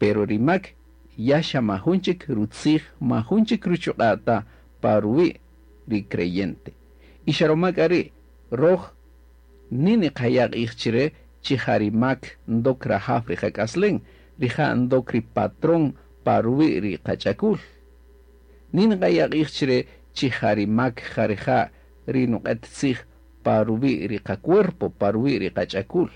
Pero ri mak ya xa majun chik rutzij, majun chik ruchuq'a' ta pa ruwi' ri creyente. Y xa roma k'a ri' roj ni niqaya' q'ij chire chi ja ri mak ndok rajaw ri qak'aslen, rija' ndok ri patrón pa ruwi' ri qach'akul. Ni niqaya' q'ij chire chi ja ri mak ja rija' ri nuq'et tzij pa ruwi' ri qacuerpo, pa ruwi' ri qach'akul.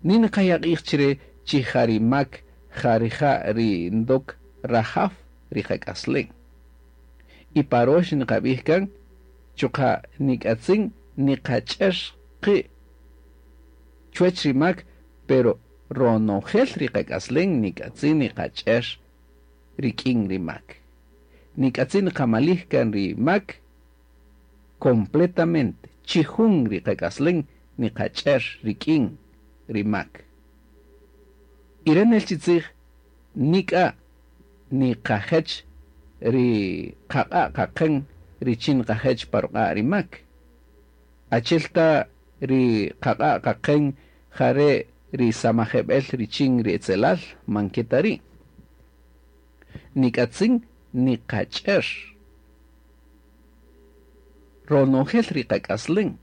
Ni niqaya' q'ij chire chi ja ri mak ja rija' ri ndok rajaw ri qak'aslen. Y pa rox niqab'ij kan, chuqa' nik'atzin niqach'er qi' chuwech ri mak, pero ronojel ri qak'aslen nik'atzin niqach'er rik'in ri mak. Nik'atzin niqamalij kan ri mak completamente, chijun ri qak'aslen niqach'er rik'in ri mak. Y re' nel chi tzij nik'a niqajech ri qaq'a' qaqen richin niqajech pa ruq'a' ri mak. Achi'el ta ri qaq'a' qaqen ja re' ri samajeb'el richin ri etzelal, man ke ta ri'. Nik'atzin niqach'er ronojel ri qak'aslen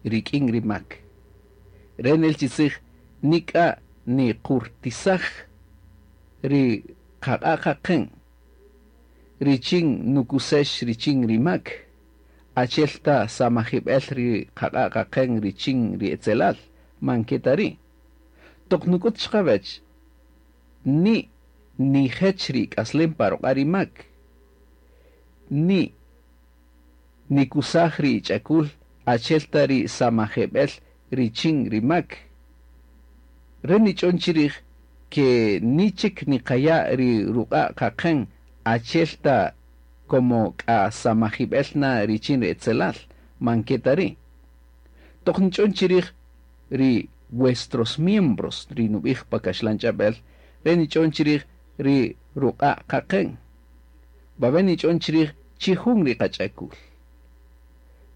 rik'in ri mak. Re' nel chi tzij nik'a niqurtisaj ri qaq'a' qaqen richin nukusex richin ri mak, achi'el ta samajib'el ri qaq'a' qaqen richin ri etzelal, man ke ta ri'. Toq nuk'ut chiqawech ni nijech ri k'aslem pa ruq'a' ri mak, ni nikusaj ri ch'akul achi'el ta ri samajeb'el richin ri mak. Re' nich'on chirij ke ni chik niqaya' ri ruq'a' qaqen achi'el ta como k'a samajib'el na richin ri etzelal, man ke ta ri'. Toq nich'on chirij ri vuestros miembros ri nub'ij pa kaxlan ch'ab'el, re' nich'on chirij ri ruq'a' qaqen. Wawe' nich'on chirij chijun ri qach'akul.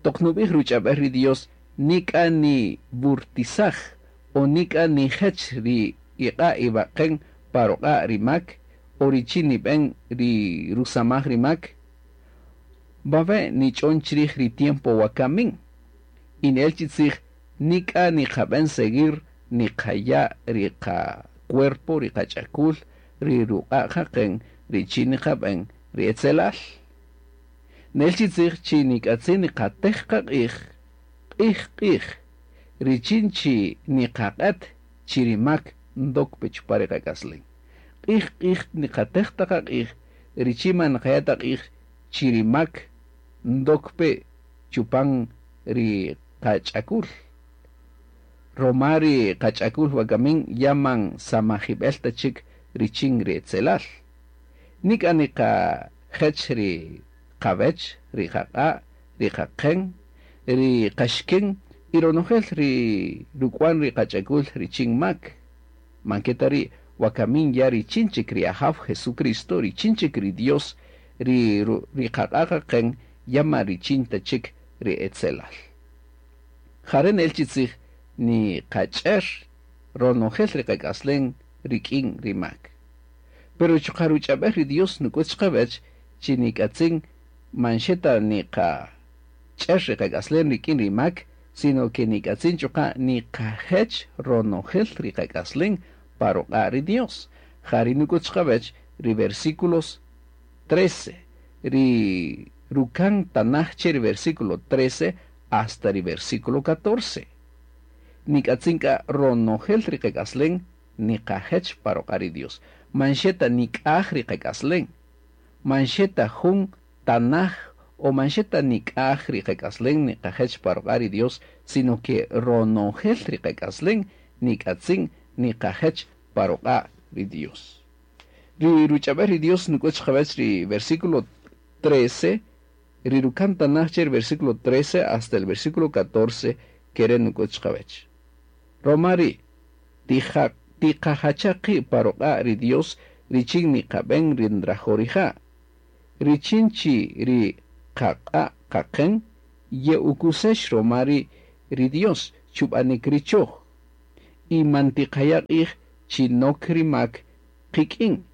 Toq nub'ij ruch'ab'el ri Dios nik'a niburtisaj o nik'a nijech ri iq'a' iwaqen pa ruq'a' ri mak o richin nib'en ri rusamaj ri mak. Wawe' nich'on chirij ri tiempo wakamin. Y nel chi tzij nik'a niqab'en seguir niqaya' ri qacuerpo, ri qach'akul, ri ruq'a' qaqen richin niqab'en ri etzelal. Nel chi tzij chi nik'atzin niqatej qaq'ij, q'ij q'ij, richin chi niqaq'et chi ri mak ndok pe chupan ri qak'aslen. Q'ij q'ij niqatej ta qaq'ij, richin man niqaya' ta q'ij chi ri mak ndok pe chupan ri qach'akul. Roma ri qach'akul wakamin ya man samajib'el ta chik richin ri etzelal. Nik'a niqajech ri qawech, ri qaq'a', ri qaqen, ri qaxken y ronojel ri ruk'wan ri qach'akul richin mak. Man ke ta ri' wakamin ya richin chik ri Ajaw Jesucristo, richin chik ri Dios, ri qaq'a' qaqen ya ma richin ta chik ri etzelal. Ja re' nel chi tzij niqach'er ronojel ri qak'aslen rik'in ri mak. Pero chuqa' ruch'ab'el ri Dios nuk'ut chiqawech chi nik'atzin man xe ta niqach'er ri qak'aslen rik'in ri mak, sino ke nik'atzin chuqa' niqajech ronojel ri qak'aslen pa ruq'a' ri Dios. Ja ri nuk'ut chiqawech ri versículos 13, ri rukan tanaj che ri versículo 13 hasta ri versículo 14. Nik'atzin k'a ronojel ri qak'aslen niqajech pa ruq'a' ri Dios. Man xe ta nik'aj ri qak'aslen, man xe ta jun tanaj o man xe ta nik'aj ri qak'aslen niqajech pa ruq'a' ri Dios, sino ke ronojel ri qak'aslen nik'atzin niqajech pa ruq'a' ri Dios. Ri ruch'ab'el ri Dios nuk'ut chiqawech ri versículo 13, ri rukan tanaj che ri versículo 13 hasta el versículo 14 kere' nuk'ut chiqawech. Roma ri' tiqajacha qi' pa ruq'a' ri Dios richin niqab'en ri nrajo' rija'. Richin chi ri qaq'a' qaqen ye'ukusex roma ri Dios chub'anik ri choj. Y man tiqaya' q'ij chi nok ri mak qik'in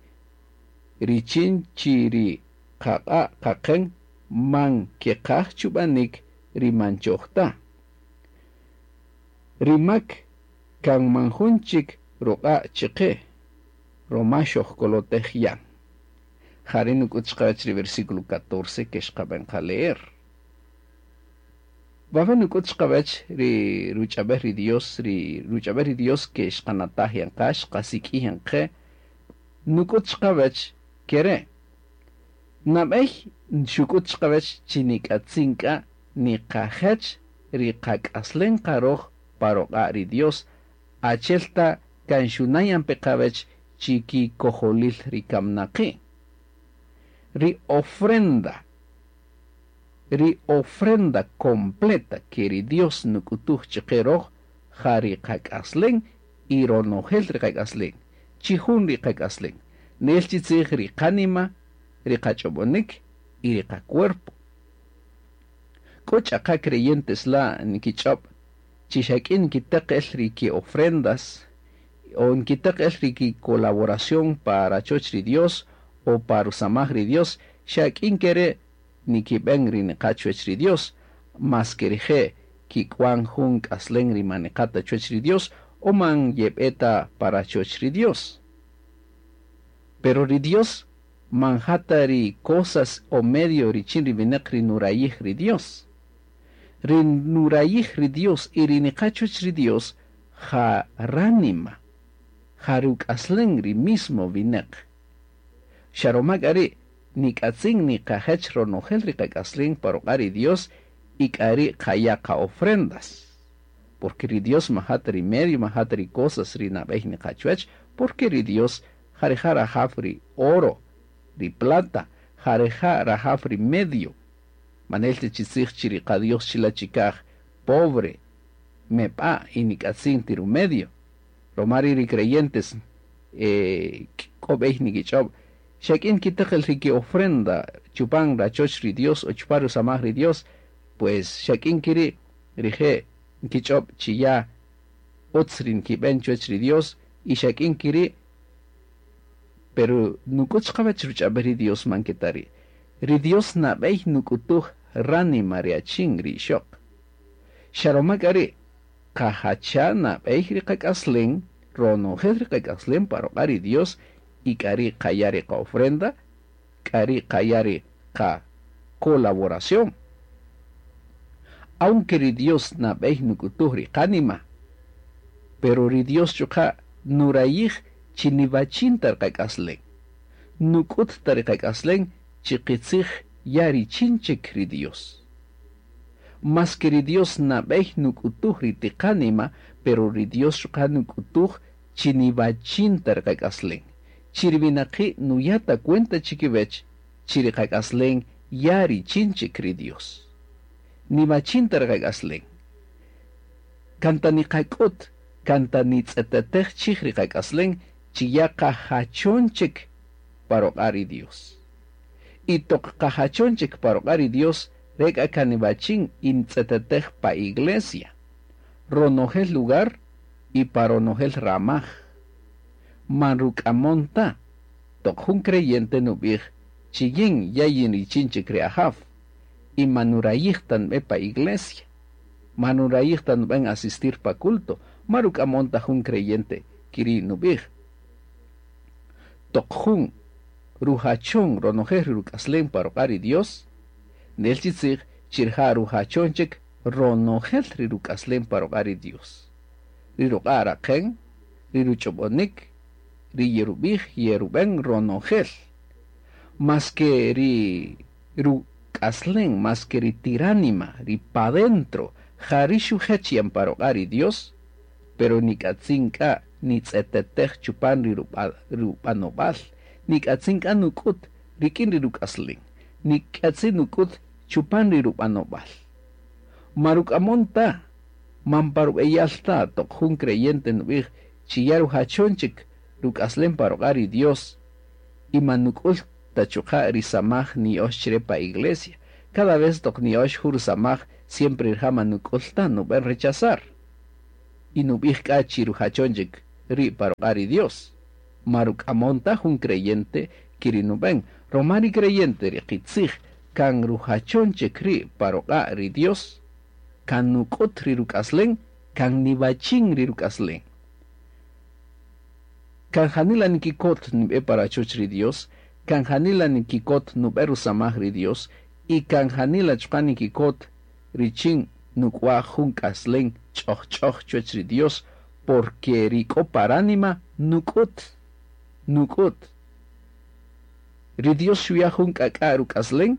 richin chi ri qaq'a' qaqen man keqaj chub'anik ri man choj ta. Ri mak kan man jun chik ruq'a' chiqe roma xojkolotej yan. Jari' nuk'ut chiqawech ri versículo 14 ke xqab'en qa leer. Wawe' nuk'ut chiqawech ri ruch'ab'el ri Dios, ri ruch'ab'el ri Dios ke xqanataj yan qa, xqasik'ij yan qe, nuk'ut chiqawech kere'. Nab'ey xuk'ut chiqawech chi nik'atzin k'a niqajech ri qak'aslen qa roj pa ruq'a' ri Dios, achi'el ta kan xuna' yan pe qawech chi kikojolil ri kamnaqi'. Ri ofrenda, ri ofrenda completa ke ri Dios nuk'utuj chiqe roj ja ri qak'aslen y ronojel ri qak'aslen, chi jun ri qak'aslen, nel chi tzij ri qanima, ri qach'ob'onik y ri qacuerpo. K'o ch'aqa creyentes la' nkich'ob' chi xa k'in nkiteq el ri ki ofrendas o nkiteq el ri ki colaboración pa rachoch ri Dios o pa rusamaj ri Dios, xa k'in kere' nikib'en ri niqa' chuwech ri Dios, mas ke rije' kik'wan jun k'aslen ri man niqa' ta chuwech ri Dios o man yeb'e ta pa rachoch ri Dios. Pero ri Dios man ja ta ri cosas o medio richin ri winäq ri nurayij ri Dios. Ri nurayij ri Dios y ri niqa' chuwech ri Dios ja ránima, ja ruk'aslen ri mismo winäq. Xa roma k'a ri' nik'atzin niqajech ronojel ri qak'aslen pa ruq'a' ri Dios y k'a ri' qaya' qa-ofrendas. Porque ri Dios man ja ta ri medio, man ja ta ri cosas ri nab'ey niqa' chuwech, porque ri Dios ja rija' rajaw ri oro, ri plata, ja rija' rajaw ri medio. Man nel ta chi tzij chi ri qa-Dios chila' chikaj pobre, meb'a' y nik'atzin ti rumedio. Roma ri' ri creyentes k'o b'ey nikich'ob', xa k'in nkiteq el ri ki-ofrenda chupan rachoch ri Dios o chupan rusamaj ri Dios, pues xa k'in kiri' rije' nkich'ob' chi ya utz ri nkib'en chuwech ri Dios y xa k'in kiri', pero nuk'ut chiqawech ruch'ab'el ri Dios man ke ta ri'. Ri Dios nab'ey nuk'utuj ránima ri achin ri ixoq. Xa roma k'a ri' qajacha' nab'ey ri qak'aslen, ronojel ri qak'aslen pa ruq'a' ri Dios y k'a ri' qaya' ri qa-ofrenda, k'a ri' qaya' ri qa-colaboración. Aunque ri Dios nab'ey nuk'utuj ri qánima, pero ri Dios chuqa' nurayij chi niwachin ta ri qak'aslen, nuk'ut ta ri qak'aslen chi qitzij ya richin chik ri Dios. Mas ke ri Dios nab'ey nuk'utuj ri tiqánima, pero ri Dios chuqa' nuk'utuj chi niwachin ta ri qak'aslen, chi ri winaqi' nuya' ta cuenta chikiwech chi ri qak'aslen ya richin chik ri Dios. Niwachin ta ri qak'aslen. Kan ta niqak'ut, kan ta nitz'etetej chij ri qak'aslen chi ya qajachon chik pa ruq'a' ri Dios. Y toq qajachon chik pa ruq'a' ri Dios, re k'a kan niwachin y ntz'etetej pa iglesia, ronojel lugar y pa ronojel ramaj. Man ruk'amon ta, toq jun creyente nub'ij chi yin ya yin richin chik ri Ajaw, y man nurayij ta nb'e pa iglesia, man nurayij ta nub'en asistir pa culto, man ruk'amon ta jun creyente kiri' nub'ij. Toq jun rujachon ronojel ri ruk'aslen pa ruq'a' ri Dios, nel chi tzij chi rija' rujachon chik ronojel ri ruk'aslen pa ruq'a' ri Dios. Ri ruq'a' raqen, ri ruch'ob'onik, ri yerub'ij yerub'en ronojel. Mas ke ri ruk'aslen, mas ke ri tiránima, ri pa dentro, ja ri xujech yan pa ruq'a' ri Dios, pero nik'atzin k'a nitz'etetej chupan ri rub'anob'al, nik'atzin k'a nuk'ut rik'in ri ruk'aslen, nik'atzin nuk'ut chupan ri rub'anob'al. Ma ruk'amon ta, man pa rub'eyal ta toq jun creyente nub'ij chi ya rujachon chik ruk'aslen pa ruq'a' ri Dios y man nuk'ul ta chuqa' ri samaj niya'ox chire pa iglesia. Cada vez toq niya'ox jun rusamaj siempre rija' man nuk'ul ta nub'en rechazar. Y nub'ij k'a chi rujachon chik ri' pa ruq'a' ri Dios. Ma ruk'amon ta jun creyente ke ri nub'än, ruma ri creyente ri qitzij kan rujachon chik ri' pa ruq'a' ri Dios, kan nuk'üt ri ruk'aslen, kan niwachin ri ruk'aslen. Kan janila nikikot nib'e pa rachoch ri Dios, kan janila nikikot nub'e rusamaj ri Dios y kan janila chuqa' nikikot richin nuk'waj jun k'aslen ch'ojch'oj chuwäch ri Dios, porque ri k'o pa ránima nuk'üt, nuk'üt. Ri Dios xuya' jun k'ak'a' ruk'aslen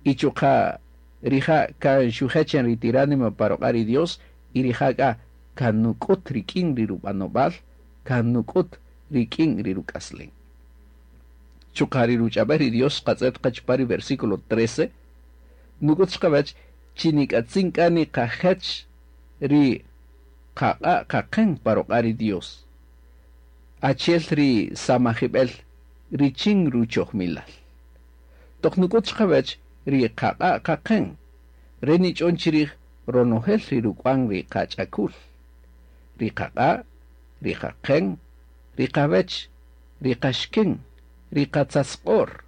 y chuqa' rija' kan xujech yan ri ti ránima pa ruq'a' ri Dios y rija' k'a kan nuk'üt rik'in ri rub'anob'al, kan nuk'üt rik'in ri ruk'aslen. Chuqa' ri ruch'ab'äl ri Dios xqatz'et qa chupan ri versículo 13, nuk'üt chiqawäch chi nik'atzin k'a niqajech ri qaq'a' qaqen pa ruq'a' ri Dios, achi'el ri samajib'el richin ruchojmilal. Toq nuk'üt chiqawäch ri qaq'a' qaqen, re nich'on chirij ronojel ri ruk'wan ri qach'akul, ri qaq'a', ri qaqen, ri qawech, ri qaxken, ri qatzatzq'or,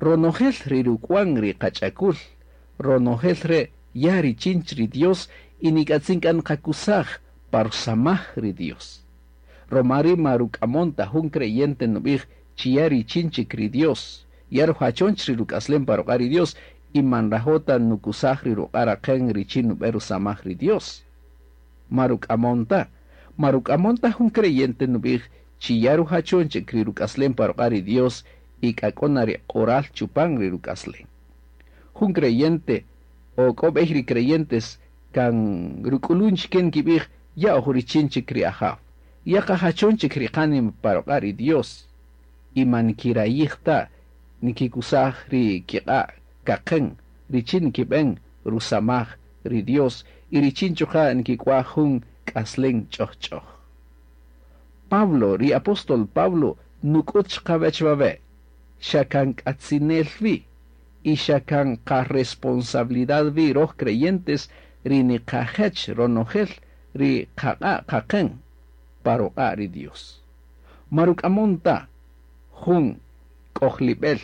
ronojel ri ruk'wan ri qach'akul, ronojel re' ya richin ri Dios y nik'atzin k'a nqakusaj pa rusamaj ri Dios. Ruma ri' ma ruk'amon ta jun creyente nub'ij chi ya richin chik ri Dios, ya rujachon ri ruk'aslen pa ruq'a' ri Dios y man nrajo' ta nukusaj ri ruq'a' raqen richin nub'e rusamaj ri Dios. Ma ruk'amon ta, ma ruk'amon ta jun creyente nub'ij chi ya rujachon chik ri ruk'aslen pa ruq'a' ri Dios y k'a k'o na ri q'oral chupan ri ruk'aslen. Jun creyente o k'o b'ey ri creyentes kan ruk'ulun chike nkib'ij ya oj richin chik ri Ajaw, ya qajachon chik ri qánima pa ruq'a' ri Dios y man nkirayij ta nkikusaj ri kiq'a' kaqen richin nkib'en rusamaj ri Dios y richin chuqa' nkik'waj jun k'aslen ch'ojch'oj. Pablo, ri apóstol Pablo, nuk'üt chiqawäch wawe', xa kan k'atzinel wi y xa kan qaresponsabilidad wi roj creyentes ri niqajech ronojel ri qaq'a' qaqen pa ruq'a' ri Dios. Ma ruk'amon ta jun k'ojlib'el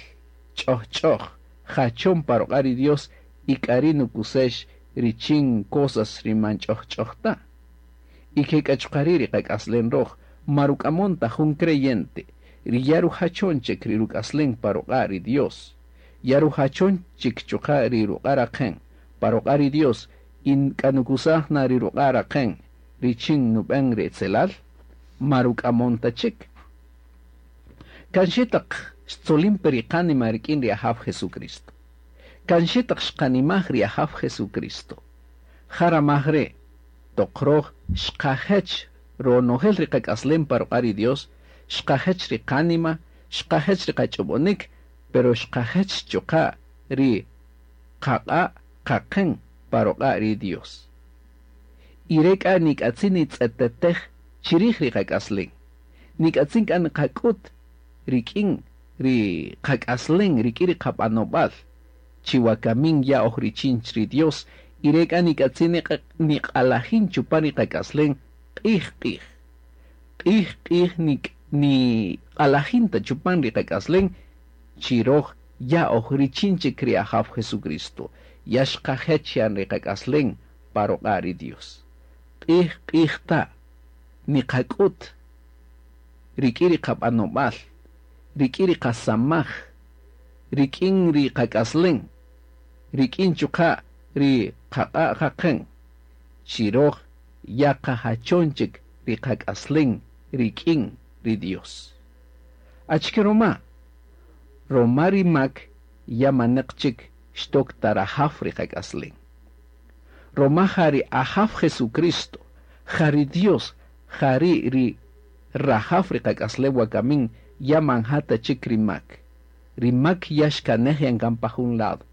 ch'ojch'oj jachon pa ruq'a' ri Dios y k'a ri' nukusex richin cosas ri man ch'ojch'oj ta. Y ke k'a chuqa' ri' ri qak'aslen roj, ma ruk'amon ta jun creyente ri ya rujachon chik ri ruk'aslen pa ruq'a' ri Dios, ya rujachon chik chuqa' ri ruq'a' raqen pa ruq'a' ri Dios y k'a nukusaj na ri ruq'a' raqen richin nub'en ri etzelal, ma ruk'amon ta chik. Kan xe taq xtzolin pe ri qánima rik'in ri Ajaw Jesucristo. Kan xe taq xqanimaj ri Ajaw Jesucristo. Ja ramaj re' toq roj xqajech ronojel ri qak'aslem pa ruq'a' ri Dios, xqajech ri qánima, xqajech ri qach'ob'onik, pero xqajech chuqa' ri qaq'a' qaqen pa ruq'a' ri Dios. Y re k'a nik'atzin nitz'etetej chirij ri qak'aslen. Nik'atzin k'a niqak'ut rik'in ri qak'aslen, rik'in ri qab'anob'al, chi wakamin ya oj richin ri Dios, y re k'a nik'atzin niq'alajin chupan ri qak'aslen q'ij q'ij. Q'ij q'ij niq'alajin ta chupan ri qak'aslen chi roj ya oj richin chik ri Ajaw Jesucristo, ya xqajech yan ri qak'aslen pa ruq'a' ri Dios. Q'ij q'ij ta niqak'ut rik'in ri qab'anob'al, rik'in ri qasamaj, rik'in ri qak'aslen, rik'in chuqa' ri qaq'a' qaqen, chi roj ya qajachon chik ri qak'aslen rik'in ri Dios. Achike roma? Roma ri mak ya maneq chik xtok ta rajaw ri qak'aslen. Roma ja ri Ajaw Jesucristo, ja ri Dios, ja ri ri rajaw ri qak'aslen wakamin ya man ja ta chik ri mak. Ri mak ya xkanej yan kan pa jun lado.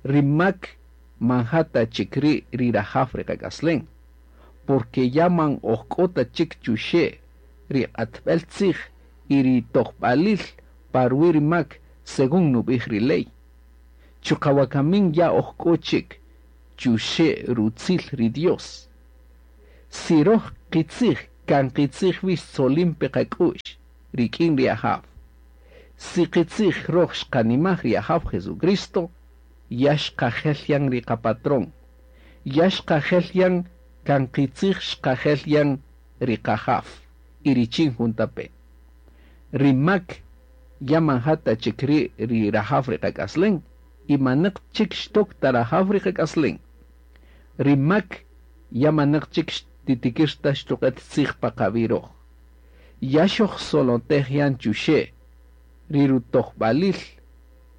Ri mak man ja ta chik ri ri rajaw ri qak'aslen. Porque ya man oj k'o ta chik chuxe' ri q'atb'el tzij y ri tojb'alil pa ruwi' ri mak según nub'ij ri ley. Chuqa' wakamin ya oj k'o chik chuxe' rutzil ri Dios. Si roj qitzij kan qitzij wi xtzolin pe qak'u'x rik'in ri Ajaw. Si qitzij röj xqanimaj ri Ajaw Jesucristo, ya xqajel yan ri qapatrón, ya xqajel yan kan qitzij xqajel yan ri qajaw y richin juntape'. Ri mak ya man ja ta chik ri' ri rajaw ri qak'aslen y manäq chik xtok ta rajaw ri qak'aslen. Ri mak ya manäq chik xtitikïr ta xtuq'ät tzij pa qawi' röj. Ya xojsolotej yan chuxe' ri rutojb'alil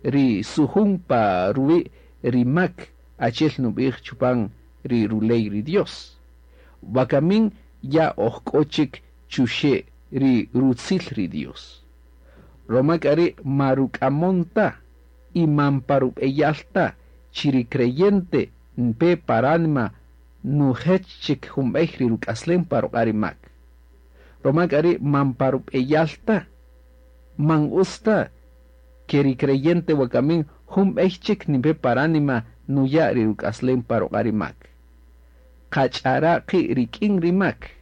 ri sujun pa ruwi' ri mak achi'el nub'ij chupan ri ruley ri Dios. Wakamin ya oj k'o chik chuxe' ri rutzil ri Dios. Ruma k'a ri' ma ruk'amon ta y man pa rub'eyal ta chi ri creyente npe pa ránima nujech chik jun b'ey ri ruk'aslem pa ruq'a' ri mak. Ruma k'a ri' man pa rub'eyal ta, man utz ta ke ri creyente wakamin jun b'ey chik nipe pa ránima nuya' ri ruk'aslem pa ruq'a' ri mak. Qach'ara' qi' rik'in ri mak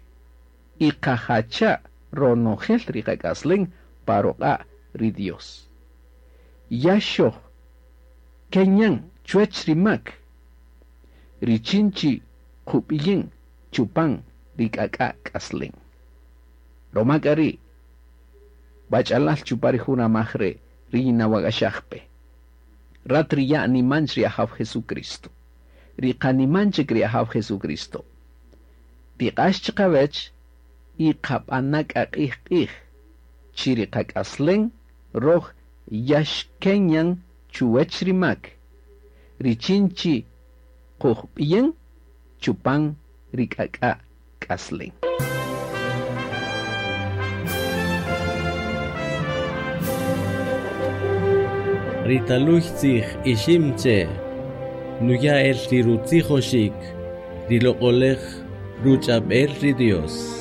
y qajacha' ronojel ri qak'aslem pa ruq'a' ri Dios. Ya xoj kenyan chuwäch ri mak richin chi qub'iyin chupan ri k'ak'a' k'aslem. Ruma k'a ri' wach'alal chupan ri jun ramaj re' ri yinawak'axaj pe. Rat ri ya' nimanch ri Ajaw Jesucristo. Ri qaniman chik ri Ajaw Jesucristo. Tiq'ax chiqawech y qab'ana' k'a q'ij q'ij chi ri qak'aslem röj ya xkenyan chuwäch ri mak richin chi qujb'iyin chupan ri k'ak'a' k'aslem. Ri taluy tzij ixim che nuya el ri rutzijoxik ri loq'olej ruch'ab'el ri Dios.